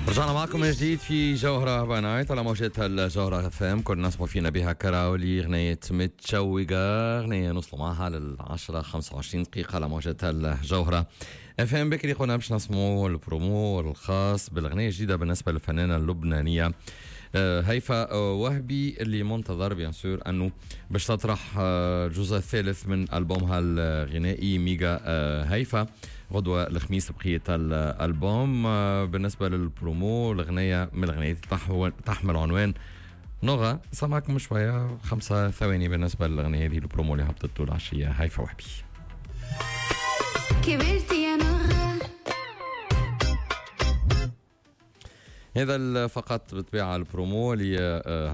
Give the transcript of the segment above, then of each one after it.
رجعنا معكم من جديد في جوهرة by Night على موجات الجوهرة FM. كنا نسمع فينا بها كراولي اغنية متشوقة، اغنية نوصلوا معها للعشرة 25 دقيقة على موجات الجوهرة FM. بكري قلنا باش نسمعوا البرومو الخاص بالاغنية الجديدة بالنسبة للفنانة اللبنانية هيفا وهبي، اللي منتظر bien sûr انه باش تطرح الجزء الثالث من البومها الغنائي ميجا هيفا غدوة الخميس بقية الألبوم. بالنسبة للبرومو، الأغنية من الأغنيات تحمل عنوان نوغا. سمعكم شوية 5 ثواني بالنسبة للأغنية هذه، البرومو اللي هبطته العشية هيفا وهبي. كبرت يا نغة. هذا فقط بالطبيعة البرومو اللي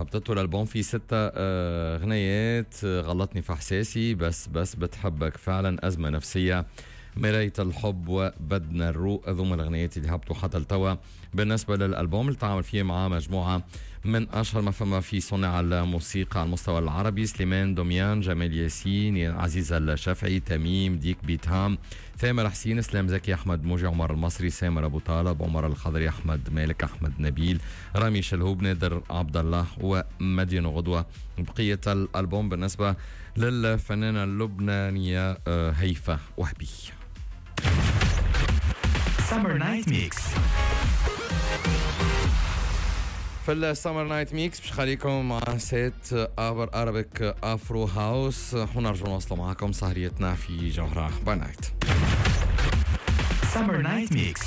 هبطته. الألبوم فيه 6 أغنيات: غلطني في إحساسي، بس بس بتحبك فعلا، أزمة نفسية، مراية الحب، وبدنا الروق. هذوما الأغنيات اللي هبطوا حتى لتوا بالنسبة للألبوم اللي تعامل فيه مع مجموعة من أشهر ما فما في صناع الموسيقى على المستوى العربي: سليمان دوميان، جمال ياسين، عزيز الشافعي، تميم ديك، بيتهام، ثامر حسين، اسلام زكي، احمد موجي، عمر المصري، سامر ابو طالب، عمر الخضري، احمد مالك، احمد نبيل، رامي شلهوب، نادر عبد الله، ومدين. غدوه بقية الالبوم بالنسبة للفنانه اللبنانية هيفا وهبي. Summer Night Mix. في ال Summer Night Mix باش خليكم مع set ابر Arabic Afro House، ونرجع نواصلوا معكم سهريتنا في جوهرة by Night. Summer Night Mix.